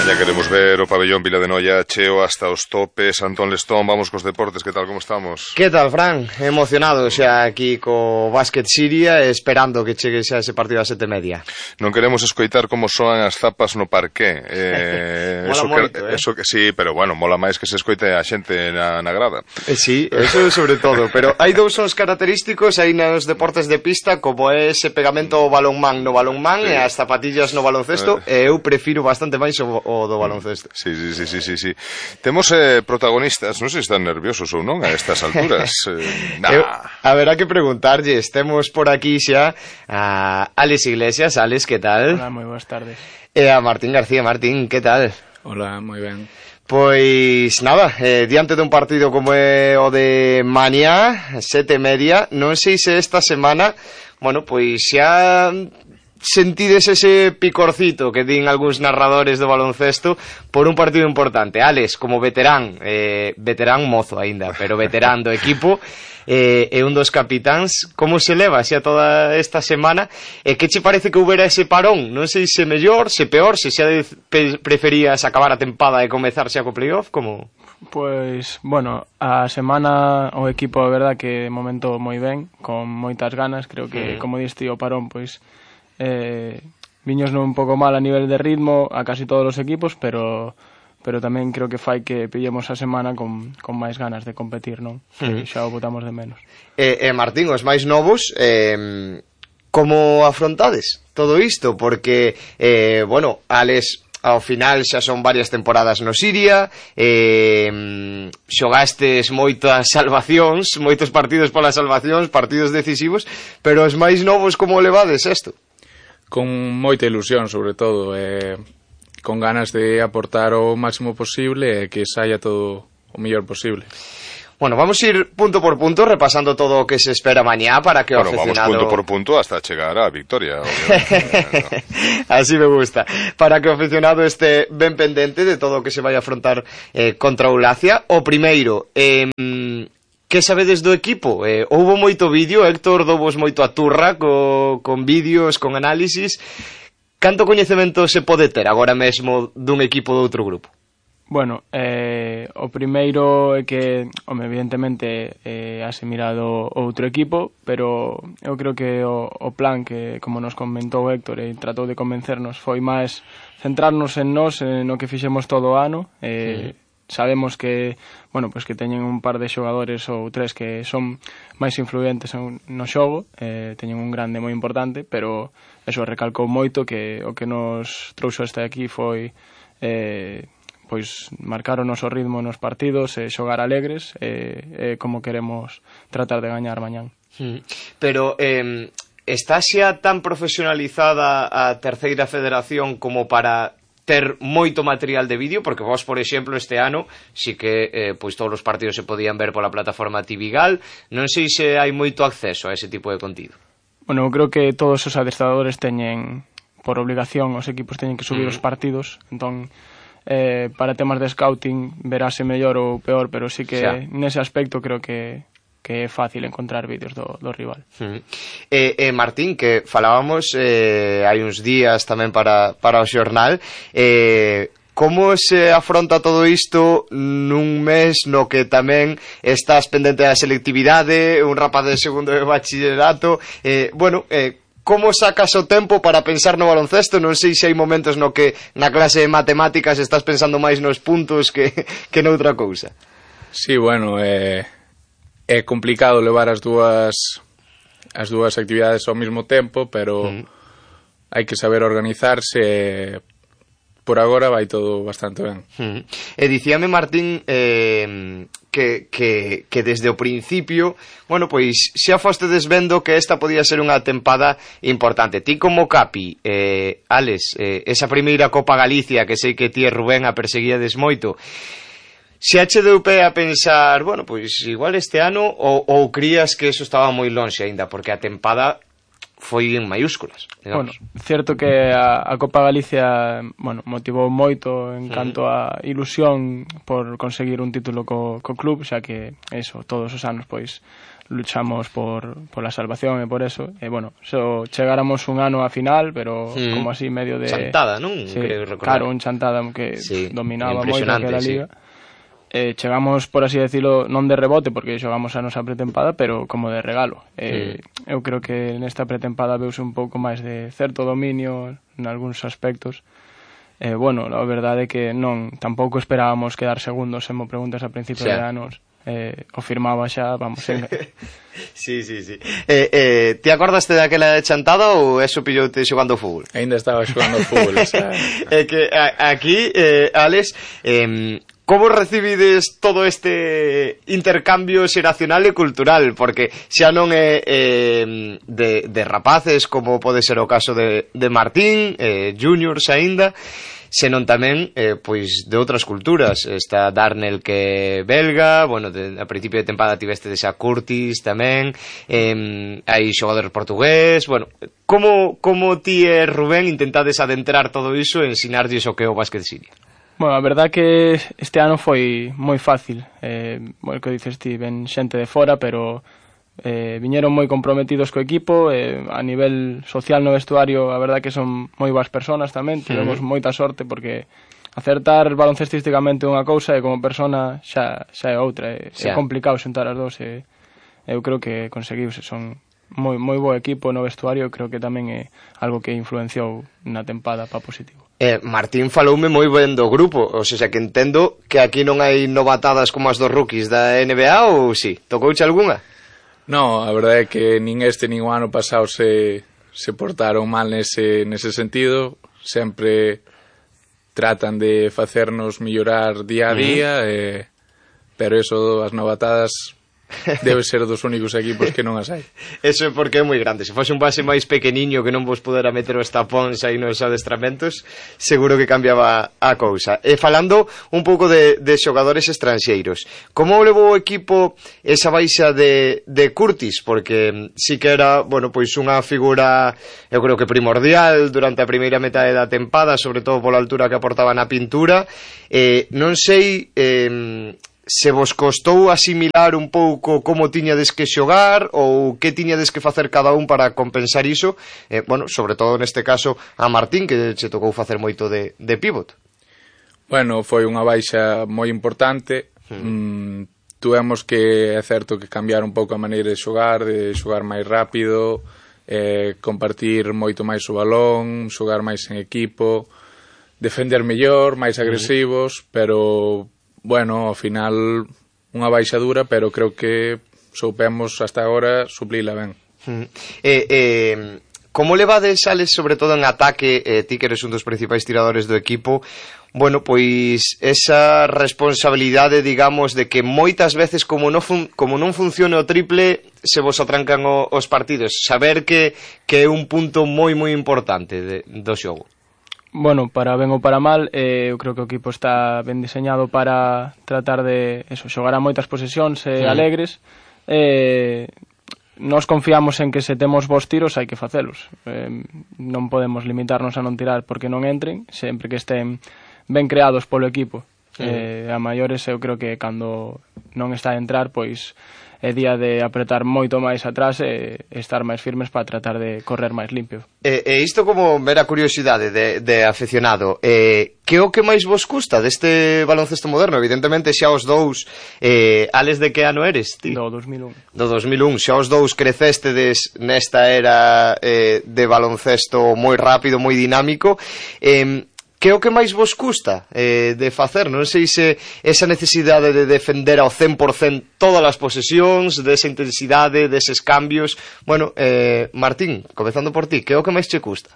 Mañá queremos ver o pabellón Vila de Noia cheo hasta os topes. Antón Lestón, vamos cos deportes, que tal, como estamos? Que tal, Fran? Emocionado xa aquí co Básquet Siria, esperando que chegue xa ese partido a 7:30. Non queremos escoitar como soan as zapas no parqué. Mola moito, eso que sí, pero bueno, mola máis que se escoite a xente na grada. Sí, eso sobre todo, pero hai dous sons característicos aí nos deportes de pista, como é ese pegamento ao balonmán no balonmán e as zapatillas no baloncesto, e eu prefiro bastante máis o do baloncesto. Sí. Temos protagonistas, non sei se están nerviosos ou non a estas alturas. Haberá que preguntarlles. Temos por aquí xa a Alex Iglesias. Alex, que tal? Hola, moi boas tardes. E a Martín García. Martín, que tal? Hola, moi ben. Pois nada, diante dun partido como é o de mañá, 7:30, non sei se esta semana, bueno, pois xa sentides ese picorcito que din algúns narradores do baloncesto por un partido importante. Alex, como veterán mozo aínda, pero veterán do equipo, e un dos capitáns, como se leva xa toda esta semana, e que che parece que houbera ese parón? Non sei se mellor, se peor, se xa preferías acabar a tempada e comezar xa co playoff, como? Pois, bueno, a semana o equipo, a verdad, que de momento moi ben, con moitas ganas. Creo que, como diste, o parón, pois viños un pouco mal a nivel de ritmo a casi todos os equipos, pero tamén creo que fai que pillemos a semana con máis ganas de competir, non? Xa o botamos de menos. Martín, os máis novos, como afrontades todo isto? Porque, bueno, Alex, ao final xa son varias temporadas no Siria, xogastes moitas salvacións, moitos partidos polas salvacións, partidos decisivos, pero os máis novos como levades isto? Con moita ilusión, sobre todo, con ganas de aportar o máximo posible e que saia todo o mellor posible. Bueno, vamos a ir punto por punto repasando todo o que se espera mañá para que o aficionado... Vamos punto por punto hasta chegar á victoria. Así me gusta. Para que o aficionado este ben pendente de todo o que se vai a afrontar contra o Lacia. O primeiro, que sabedes do equipo? Houbo moito vídeo, Héctor douvos moito a turra con vídeos, con análisis. Canto coñecemento se pode ter agora mesmo dun equipo de outro grupo? Bueno, o primeiro é que, evidentemente, hase mirado outro equipo, pero eu creo que o plan que, como nos comentou Héctor, e tratou de convencernos, foi máis centrarnos en nós, no que fixemos todo o ano. Sabemos que, bueno, pues que teñen un par de xogadores ou tres que son máis influentes no xogo, teñen un grande moi importante, pero eso recalcou moito que o que nos trouxo hasta aquí foi pois marcar o noso ritmo nos partidos e xogar alegres, como queremos tratar de gañar mañán. Pero está xa tan profesionalizada a terceira federación como para ter moito material de vídeo? Porque vos, por exemplo, este ano si que pois todos os partidos se podían ver pola plataforma Tivigal. Non sei se hai moito acceso a ese tipo de contido. Bueno, eu creo que todos os adestradores teñen, por obligación, os equipos teñen que subir os partidos, entón para temas de scouting verase mellor ou peor, pero sí que nese aspecto creo que é fácil encontrar vídeos do rival. Martín, que falábamos hai uns días tamén para o xornal, como se afronta todo isto nun mes no que tamén estás pendente da selectividade, un rapaz de segundo de bachillerato, como sacas o tempo para pensar no baloncesto? Non sei se hai momentos no que na clase de matemáticas estás pensando máis nos puntos que noutra cousa. Sí, bueno, é complicado levar as dúas actividades ao mesmo tempo, pero hai que saber organizarse. Por agora vai todo bastante ben. E dicíame, Martín, que desde o principio, bueno, pois xa fostedes vendo que esta podía ser unha tempada importante. Ti como capi, Alex, esa primeira Copa Galicia que sei que ti e Rubén a perseguíades moito, se che deu pé a pensar, bueno, pois igual este ano, ou crías que eso estaba moi lonxe aínda, porque a tempada foi en maiúsculas, digamos. Bueno, certo que a Copa Galicia, bueno, motivou moito en canto a ilusión por conseguir un título co club, xa que eso, todos os anos, pois, luchamos por la salvación e por eso. E, bueno, chegáramos un ano a final, pero como así medio de... Chantada, non? Sí, claro, un chantada que dominaba moito aquela liga. Chegamos, por así decirlo, non de rebote, porque xogamos a nosa pretempada, pero como de regalo. Eu creo que nesta pretempada veuse un pouco máis de certo dominio en algúns aspectos. Bueno, a verdade é que tampouco esperábamos quedar segundos, se me preguntas a principio de anos. O firmaba xa, vamos, Sí. Ti acordaste daquela chantada ou eso pilloute xogando fútbol? Ainda estaba xogando fútbol, xa. É que aquí, Alex, como recibides todo este intercambio xeracional e cultural? Porque xa non é de rapaces, como pode ser o caso de Martín, juniors aínda, senón tamén pois de outras culturas. Está Darnell, que é belga, bueno, a principio de tempada tiveste a Curtis tamén, hai xogadores portugués. Bueno, como ti e Rubén intentades adentrar todo iso e ensinarlles o que é o básquet siria? Bueno, a verdad que este ano foi moi fácil. O que dices ti, ven xente de fora, pero viñeron moi comprometidos co equipo. A nivel social no vestuario, a verdad que son moi boas personas tamén. Tivemos moita sorte, porque acertar baloncestísticamente unha cousa e como persona xa é outra. É complicado xuntar as dous. Eu creo que conseguiuse. Son moi bo equipo no vestuario. Creo que tamén é algo que influenciou na tempada para positivo. Martín faloume moi ben do grupo, ou seja, que entendo que aquí non hai novatadas como as dos rookies da NBA, ou si? Tocouche algunha? No, a verdade é que nin este nin o ano pasado se portaron mal nese sentido. Sempre tratan de facernos mellorar día a día, pero eso, as novatadas, debe ser dos únicos equipos que non as hai. Eso é porque é moi grande. Se fose un base máis pequeniño que non vos pudera meter os tapóns aí nos adestramentos, seguro que cambiaba a cousa. E falando un pouco de xogadores estranxeiros, como levou o equipo esa baixa de Curtis? Porque sí que era, bueno, pois unha figura, eu creo que primordial durante a primeira metade da tempada, sobre todo pola altura que aportaba na pintura. Non sei se vos costou asimilar un pouco como tiñades que xogar ou que tiñades que facer cada un para compensar iso, bueno, sobre todo neste caso a Martín, que che tocou facer moito de pivot. Bueno, foi unha baixa moi importante. Tuvemos que, é certo, que cambiar un pouco a maneira de xogar máis rápido, compartir moito máis o balón, xogar máis en equipo, defender mellor, máis agresivos, pero bueno, ao final unha baixa dura, pero creo que soupemos hasta agora suplila ben. Como levades, Alex, sobre todo en ataque, ti que eres un dos principais tiradores do equipo, bueno, pois esa responsabilidade, digamos, de que moitas veces como non funciona o triple, se vos atrancan os partidos, saber que é un punto moi importante do xogo? Bueno, para ben ou para mal, eu creo que o equipo está ben diseñado para tratar de xogar a moitas posesións alegres. Nos confiamos en que se temos bons tiros hai que facelos. Non podemos limitarnos a non tirar porque non entren, sempre que estén ben creados polo equipo. A maiores eu creo que cando non está a entrar, pois é día de apretar moito máis atrás e estar máis firmes para tratar de correr máis limpio. E isto como mera curiosidade de aficionado, que o que máis vos custa deste baloncesto moderno? Evidentemente xa os dous, Alex, de que ano eres? Ti? Do 2001. Do 2001, xa os dous crecestedes nesta era de baloncesto moi rápido, moi dinámico. Que é o que máis vos custa de facer? Non sei se esa necesidade de defender ao 100% todas as posesións, desa intensidade, deses cambios. Bueno, Martín, comezando por ti, que é o que máis che custa?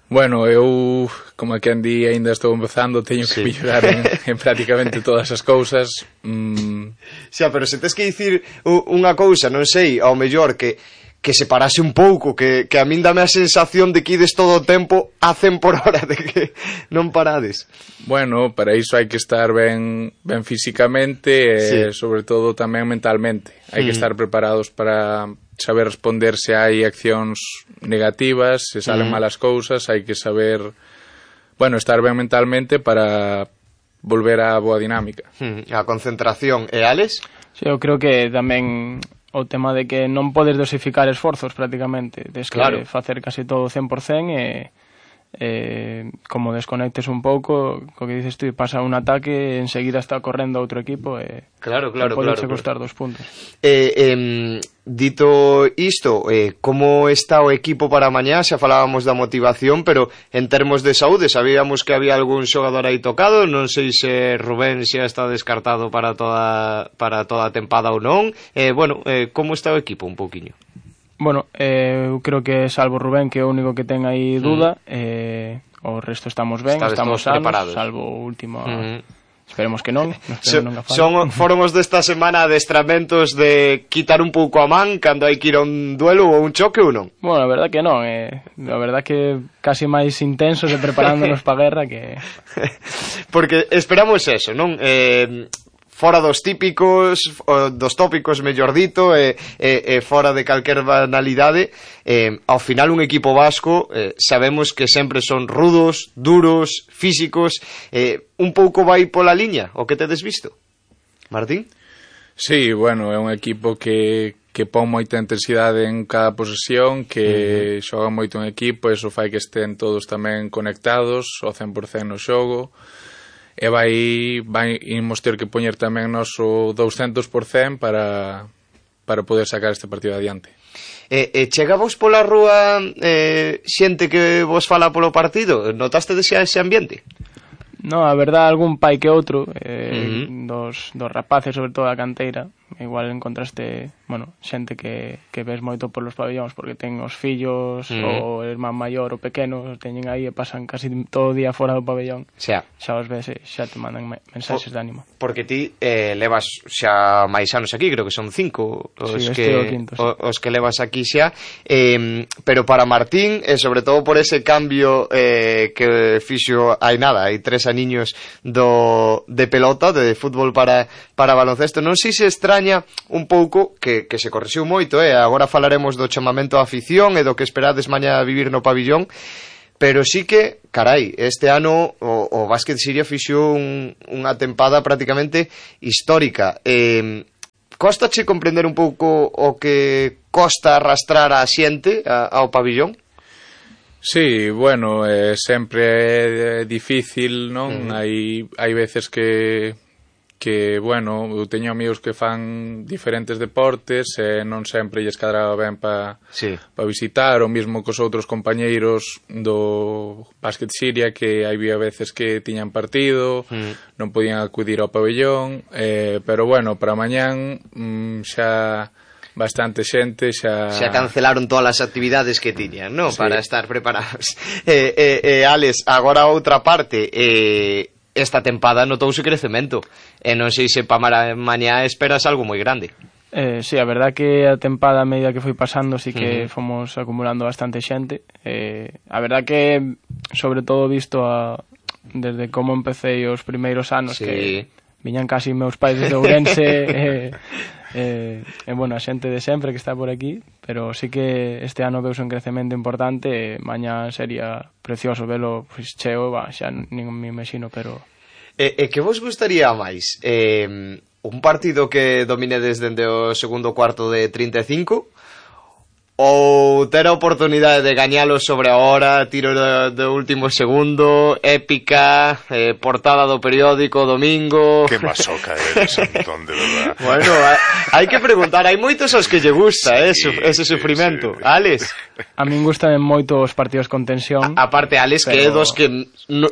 Bueno, eu, como quen di, ainda estou empezando, teño que mellorar en prácticamente todas as cousas. Xa, pero se tes que dicir unha cousa, non sei, ao mellor que se parase un pouco, que a min dame a sensación de que ides todo o tempo a 100 por hora, de que non parades. Bueno, para iso hai que estar ben físicamente e sobre todo tamén mentalmente. Hai que estar preparados para saber responder se hai accións negativas, se salen malas cousas, hai que saber, bueno, estar ben mentalmente para volver á boa dinámica. A concentración. E Alex? Sí, eu creo que tamén o tema de que non podes dosificar esforzos prácticamente, des que claro, facer casi todo 100% como desconectes un pouco, co que dices tú, pasa un ataque, enseguida está correndo outro equipo e claro, pode costar 2 puntos. Dito isto, como está o equipo para mañá? Xa falábamos da motivación, pero en termos de saúde, sabíamos que había algún xogador aí tocado, non sei se Rubén xa está descartado para toda a tempada ou non. Como está o equipo un pouquiño? Bueno, eu creo que salvo Rubén, que é o único que ten aí duda, o resto estamos ben, estamos sanos, preparados, salvo o último... Esperemos que non. Foron os desta semana adestramentos de quitar un pouco a man cando hai que ir a un duelo ou un choque ou non? Bueno, a verdad que non, a verdad que casi máis intensos e preparándonos pa guerra que... Porque esperamos eso, non? Fora dos típicos, dos tópicos, mellor dito, fora de calquer banalidade, ao final un equipo vasco sabemos que sempre son rudos, duros, físicos, un pouco vai pola liña, o que tedes visto? Martín? Sí, bueno, é un equipo que pon moita intensidade en cada posesión, que xoga moito en equipo, e iso fai que estén todos tamén conectados ao 100% no xogo, e imos ter que poñer tamén noso 200% para poder sacar este partido adiante. Chega vos pola rúa xente que vos fala polo partido? Notaste ese ambiente? No, a verdad, algún pai que outro, dos rapaces, sobre todo da canteira, igual encontraste, bueno, xente que ves moito polos pabellóns porque ten os fillos, o irmán maior ou pequeno, teñen aí e pasan casi todo o día fora do pabellón. Xa os ves e xa te mandan mensaxes de ánimo. Porque ti levas xa máis anos aquí, creo que son 5 os que levas aquí xa, pero para Martín, e sobre todo por ese cambio que fixo hai 3 aniños de pelota, de fútbol para baloncesto, non sei se extraña un pouco que se correxiu moito, agora falaremos do chamamento á afición e do que esperades mañá vivir no pabillón, pero sí que, carai, este ano o Básquet Siria fixo unha tempada prácticamente histórica. Costache comprender un pouco o que costa arrastrar a xente ao pabillón? Sí, bueno, sempre é difícil, non? Hai veces que bueno, eu teño amigos que fan diferentes deportes e non sempre lles cadraba ben para visitar, o mismo cos outros compañeiros do Básquet Siria, que había veces que tiñan partido, non podían acudir ao pabellón, pero bueno, para mañán xa bastante xente xa cancelaron todas as actividades que tiñan, non? Para estar preparados. Alex, agora outra parte, esta tempada notouse crecemento, e non sei se para mañá esperas algo moi grande. Sí, a verdad que a tempada a medida que foi pasando sí que fomos acumulando bastante xente. A verdad que, sobre todo visto desde como empecé os primeiros anos, que viñan casi meus pais desde Ourense, bueno, a xente de sempre que está por aquí, pero sí que este ano veuse un crecemento importante, e mañá sería precioso velo cheo, xa nin me imagino, pero... que vos gustaría máis? Un partido que dominedes dende o segundo cuarto de 35, ou ter a oportunidade de gañalo sobre a hora, tiro do último segundo, épica, portada do periódico, domingo... Que masoca eres, Antón, de verdad. Bueno, hai que preguntar, hai moitos aos que lle gusta ese sufrimento. Sí. Alex? A min gustan moito os partidos con tensión. Aparte, Alex, pero... que é dos que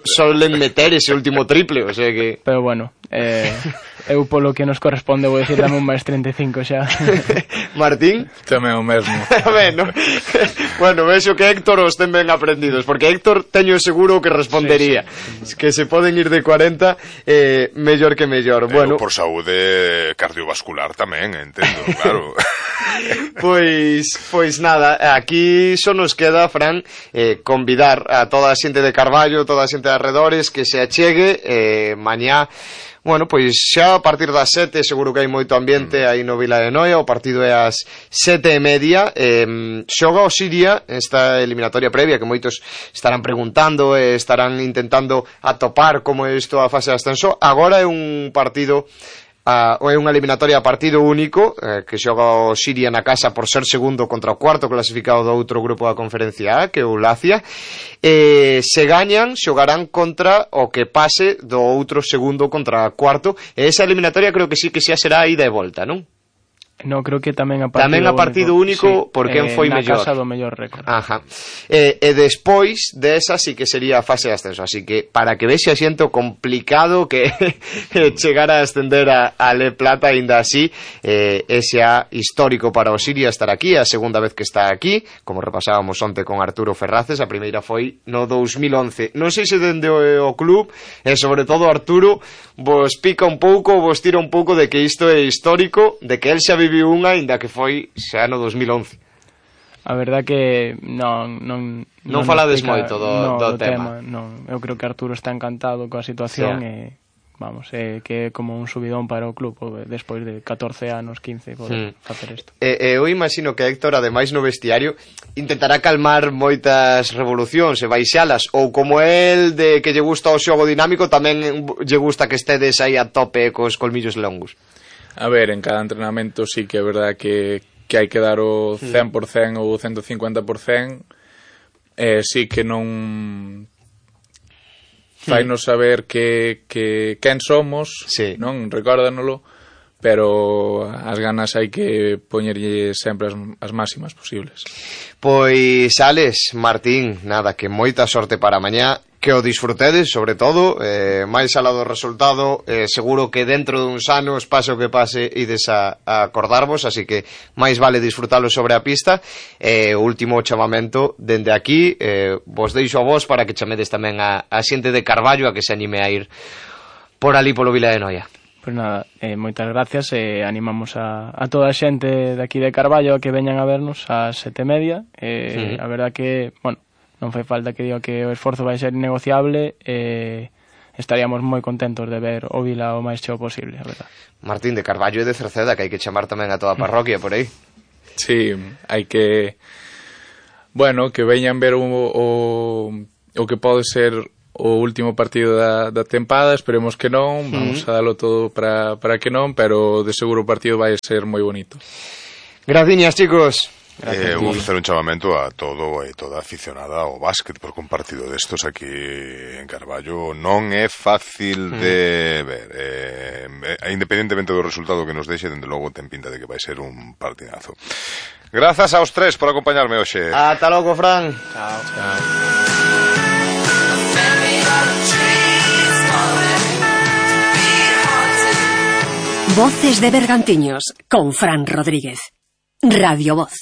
solen meter ese último triple, o sea que... Pero bueno, eu polo que nos corresponde vou dicir dame un máis 35 xa. Martín? Tamén o mesmo. Bueno, vexo que Héctor os ten ben aprendidos, porque Héctor teño seguro que respondería que se poden ir de 40 mellor que mellor. Bueno, por saúde cardiovascular tamén, entendo, claro. Pois nada, aquí só nos queda, Fran, convidar a toda a xente de Carballo, toda a xente de arredores que se achegue mañá. Bueno, pois xa a partir das 7 seguro que hai moito ambiente aí no Vila de Noia. O partido é ás 7:30. Xoga o Siria esta eliminatoria previa, que moitos estarán preguntando e estarán intentando atopar como é isto a fase de ascenso. Agora é un partido é unha eliminatoria a partido único, que xoga o Siria na casa por ser segundo contra o cuarto clasificado do outro grupo da Conferencia A, que é o Lacia. Se gañan, xogarán contra o que pase do outro segundo contra o cuarto, e esa eliminatoria creo que sí que xa será ida e volta, non? No, creo que tamén a partido único sí, por quen foi mellor. Na casa do mellor récord. Ajá. E despois desa sí que sería a fase de ascenso, así que para que vexe xente complicado que chegar a ascender a Le Plata, aínda así ese é histórico para o Siria estar aquí, a segunda vez que está aquí, como repasábamos onte con Arturo Ferraces, a primeira foi no 2011. Non sei se dende o club, e sobre todo Arturo vos pica un pouco, vos tira un pouco de que isto é histórico, de que el xa viviu unha, ainda que foi xa no 2011. A verdad que non falades moito do tema. Non, eu creo que Arturo está encantado coa situación, e vamos, que é como un subidón para o club despois de 14 anos, 15 poder facer isto. Eu imagino que Héctor, ademais no vestiario, intentará calmar moitas revolucións e baixalas, ou como el de que lle gusta o xogo dinámico, tamén lle gusta que estedes aí a tope cos colmillos longos. A ver, en cada entrenamento sí que é verdad que hai que dar o 100% ou o 150%, sí que non fainos saber que quen somos, non, recórdanolo, pero as ganas hai que poñerlle sempre as máximas posibles. Pois, Alex, Martín, nada, que moita sorte para mañá, que o disfrutedes, sobre todo, máis alá do resultado, seguro que dentro duns anos, pase o que pase, ides a acordarvos, así que máis vale disfrutalo sobre a pista. O último chamamento dende aquí, vos deixo a vos para que chamedes tamén a xente de Carballo a que se anime a ir por ali polo Vila de Noia. Pois nada, moitas gracias, animamos a toda a xente de aquí de Carballo a que veñan a vernos ás 7:30. A verdad que, bueno, non fai falta que diga que o esforzo vai ser innegociable, estaríamos moi contentos de ver o Vila o máis cheo posible, a verdad. Martín, de Carballo e de Cerceda, que hai que chamar tamén a toda a parroquia por aí. Sí, hai que, bueno, que veñan ver o que pode ser o último partido da tempada, esperemos que non, vamos a dalo todo para que non, pero de seguro o partido vai ser moi bonito. Graciñas, chicos. Vou facer un chamamento a todo e toda aficionada ao básquet, porque un partido destos aquí en Carballo non é fácil de ver, independentemente do resultado que nos deixe, dende logo ten pinta de que vai ser un partidazo. Grazas aos tres por acompañarme hoxe. Ata logo, Fran. Chao. Voces de Bergantiños con Fran Rodríguez. Radio Voz.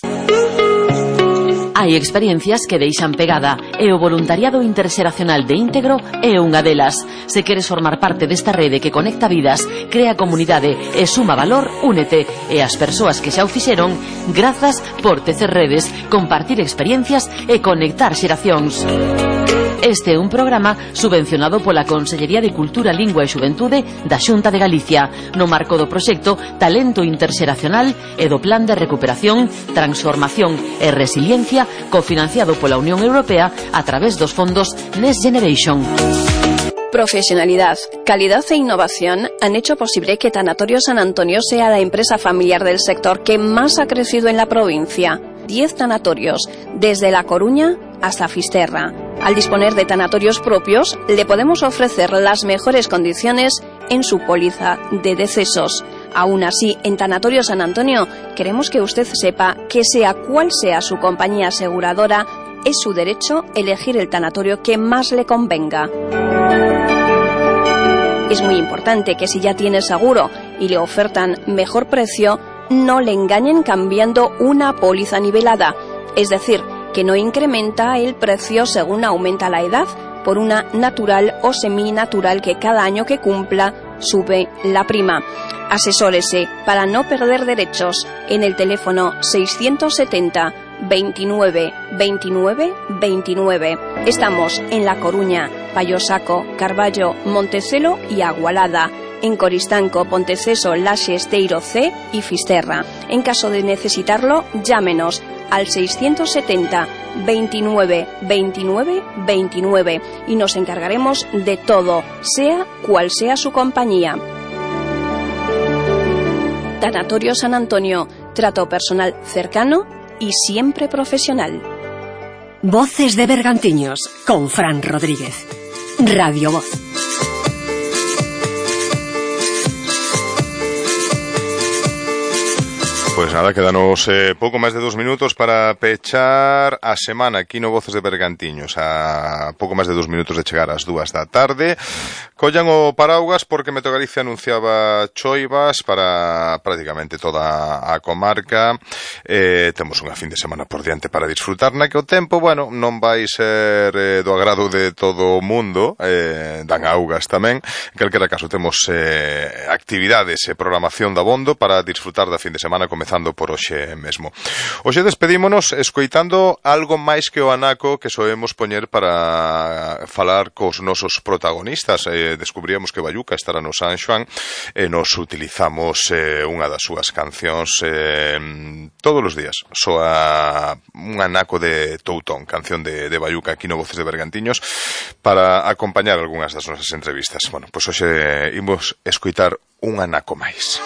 Hai experiencias que deixan pegada e o voluntariado interxeracional de Íntegro é unha delas. Se queres formar parte desta rede que conecta vidas, crea comunidade e suma valor, únete. E as persoas que xa o fixeron, grazas por tecer redes, compartir experiencias e conectar xeracións. Este é un programa subvencionado pola Consellería de Cultura, Lingua e Xuventude da Xunta de Galicia, no marco do proxecto Talento Interxeracional e do Plan de Recuperación, Transformación e Resiliencia, cofinanciado pola Unión Europea a través dos fondos Next Generation. Profesionalidad, calidad e innovación han hecho posible que Tanatorio San Antonio sea la empresa familiar del sector que más ha crecido en la provincia. 10 tanatorios, desde La Coruña hasta Fisterra. Al disponer de tanatorios propios, le podemos ofrecer las mejores condiciones en su póliza de decesos. Aún así, en Tanatorio San Antonio, queremos que usted sepa que sea cual sea su compañía aseguradora, es su derecho elegir el tanatorio que más le convenga. Es muy importante que si ya tiene seguro y le ofertan mejor precio, no le engañen cambiando una póliza nivelada, es decir, que no incrementa el precio según aumenta la edad por una natural o seminatural que cada año que cumpla sube la prima. Asesórese para no perder derechos en el teléfono 670 29 29 29. Estamos en La Coruña, Payosaco, Carballo, Montecelo y Agualada. En Coristanco, Ponteceso, Laxe, Esteiro C y Fisterra. En caso de necesitarlo, llámenos al 670 29 29 29 y nos encargaremos de todo, sea cual sea su compañía. Tanatorio San Antonio, trato personal cercano y siempre profesional. Voces de Bergantiños con Fran Rodríguez. Radio Voz. Pois nada, quedanos pouco máis de 2 minutos para pechar a semana aquí no Voces de Bergantiños. A pouco máis de 2 minutos de chegar ás 2 da tarde. Collan o paraugas porque Meteo Galicia anunciaba choivas para prácticamente toda a comarca. Temos unha fin de semana por diante para disfrutar, na que o tempo, bueno, non vai ser do agrado de todo o mundo, dan augas tamén. En calquera caso, temos actividades e programación da abondo para disfrutar da fin de semana, comezando por hoxe mesmo. Hoxe despedímonos escoitando algo máis que o anaco que soemos poñer para falar cos nosos protagonistas. Descubríamos que Bayuca estará no San Xoán e nos utilizamos unha das súas cancións todos os días. Soa un anaco de Toutón, canción de Bayuca aquí no Voces de Bergantiños, para acompañar algunhas das nosas entrevistas. Bueno, pois hoxe imos escoitar un anaco máis.